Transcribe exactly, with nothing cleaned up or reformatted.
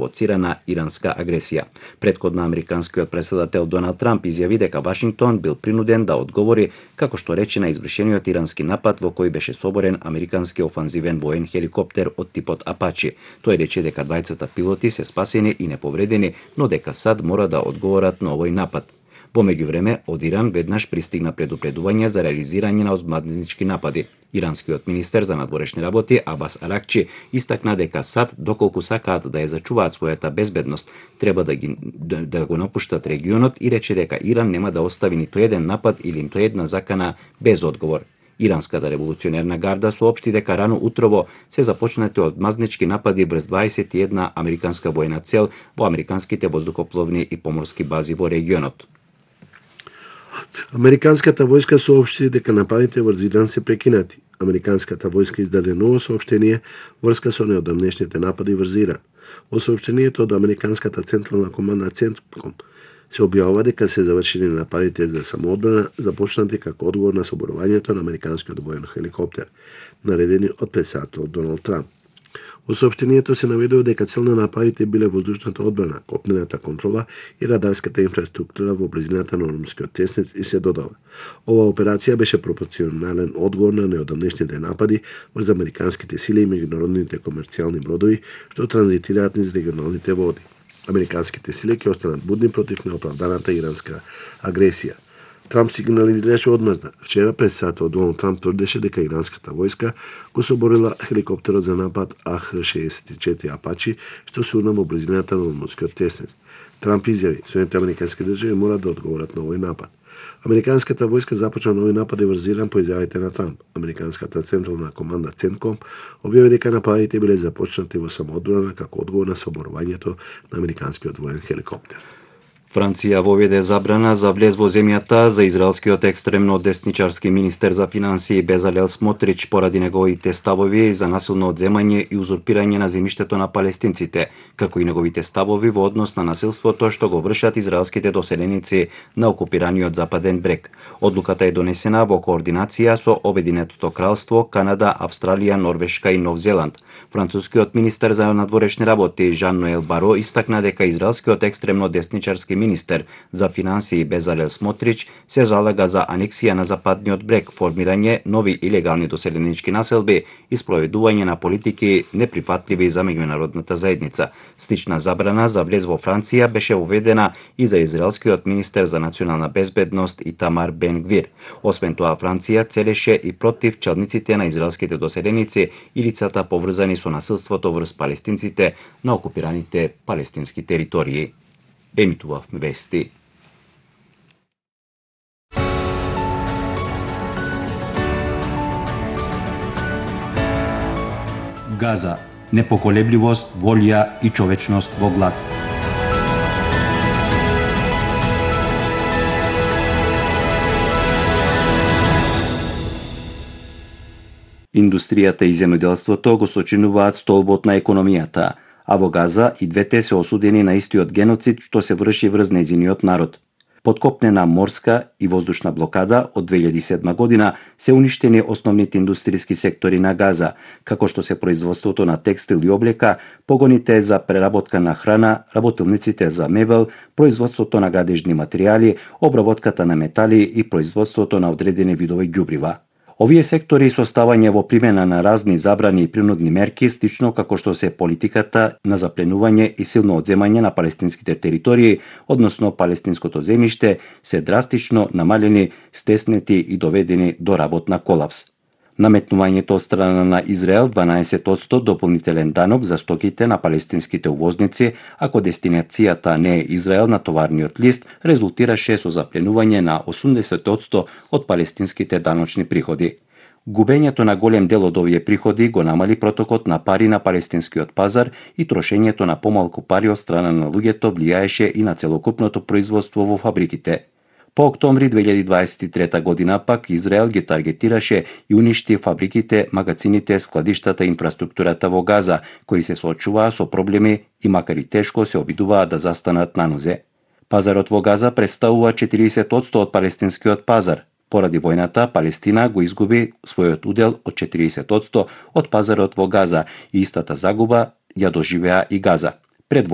провоцирана иранска агресија. Предходно американскиот претседател Доналд Трамп изјави дека Вашингтон бил принуден да одговори, како што рече, на извршениот ирански напад во кој беше соборен американски офанзивен воен хеликоптер од типот Апачи. Тој рече дека двајцата пилоти се спасени и неповредени, но дека САД мора да одговорат на овој напад. Во меѓувреме, од Иран веднаш пристигна предупредување за реализирање на озбиljнички напади. Иранскиот министер за надворешни работи Абас Аракчи истакна дека САД, доколку сакаат да ја зачуваат својата безбедност, треба да, ги, да, да го напуштат регионот и рече дека Иран нема да остави ниту еден напад или ниту една закана без одговор. Иранската револуционерна гарда соопшти дека рано утрово се започнати одмазнички напади врз дваесет и една американска војна цел во американските воздухопловни и поморски бази во регионот. Американската војска соопшти дека нападите врз Иран се прекинати. Американската војска издаде ново соопштение врска со неодамнешните напади врз Иран. Во соопштението од Американската централна команда Центком се објавува дека се завршени нападите за самоодбрана, започнати како одговор на соборувањето на американскиот воен хеликоптер, наредени од претседателот Доналд Трамп. Во соопштението се наведува дека цел на нападите биле воздушната одбрана, копнената контрола и радарската инфраструктура во близината на Ормускиот теснец и се додава. Ова операција беше пропорционален одговор на неодамнешните напади врз американските сили и меѓународните комерцијални бродови што транзитираат низ регионалните води. Американските сили ќе останат будни против неоправданата иранска агресија. Трамп сигнализираше одмазда. Вчера претседателот Доналд Трамп тврдеше дека иранската војска го соборила хеликоптерот за напад А Х шеесет и четири Апачи што се урна во близината на Ормускиот теснец. Трамп изјави: Соединетите американски држави мора да одговорат на овој напад. Американската војска започна нови напади врз Иран по изјавите на Трамп. Американската централна команда Центком објави дека нападите биле започнати во самоодбрана како одговор на соборувањето на американскиот воен хеликоптер. Франција воведе забрана за влез во земјата за израелскиот екстремно десничарски министер за финансии Безалел Смотрич поради неговите ставови за насилно одземање и узурпирање на земјиштето на палестинците, како и неговите ставови во однос на насилството што го вршат израелските доселеници на окупираниот Западен брег. Одлуката е донесена во координација со Обединетото кралство, Канада, Австралија, Норвешка и Нов Зеланд. Францускиот министер за надворешни работи Жан Ноел Баро истакна дека израелскиот екстремно десничарски министер за финансии Безалел Смотрич се залага за анексија на Западниот брег, формирање нови илегални доселенички населби и спроведување на политики неприфатливи за меѓународната заедница. Слична забрана за влез во Франција беше воведена и за израелскиот министер за национална безбедност Итамар Бен Гвир. Освен тоа, Франција целеше и против челниците на израелските доселеници и лицата поврзани со насилството врз палестинците на окупираните палестински територии. Емитував вести. Газа. Непоколебливост, волја и човечност во глад. Индустријата и земјоделството го сочинуваат столбот на економијата, а во Газа и двете се осудени на истиот геноцид што се врши врз нејзиниот народ. Подкопнена морска и воздушна блокада од две илјади и седма година се уништени основните индустријски сектори на Газа, како што се производството на текстил и облека, погоните за преработка на храна, работилниците за мебел, производството на градежни материјали, обработката на метали и производството на одредени видови ѓубрива. Овие сектори со ставање во примена на разни забрани и принудни мерки, слично како што се политиката на запленување и силно одземање на палестинските територии, односно палестинското земјиште, се драстично намалени, стеснети и доведени до работна колапс. Наметнувањето од страна на Израел дванаесет одсто дополнителен данок за стоките на палестинските увозници, ако дестинацијата не е Израел на товарниот лист, резултираше со запленување на осумдесет одсто од палестинските даночни приходи. Губењето на голем дел од овие приходи го намали протокот на пари на палестинскиот пазар и трошењето на помалку пари од страна на луѓето влијаеше и на целокупното производство во фабриките. По октомври две илјади дваесет и трета година пак Израел ги таргетираше и уништи фабриките, магазините, складиштата и инфраструктурата во Газа, кои се соочуваа со проблеми и макар и тешко се обидуваа да застанат на нозе. Пазарот во Газа представува четириесет одсто од палестинскиот пазар. Поради војната, Палестина го изгуби својот удел од четириесет одсто од пазарот во Газа и истата загуба ја доживеа и Газа. Пред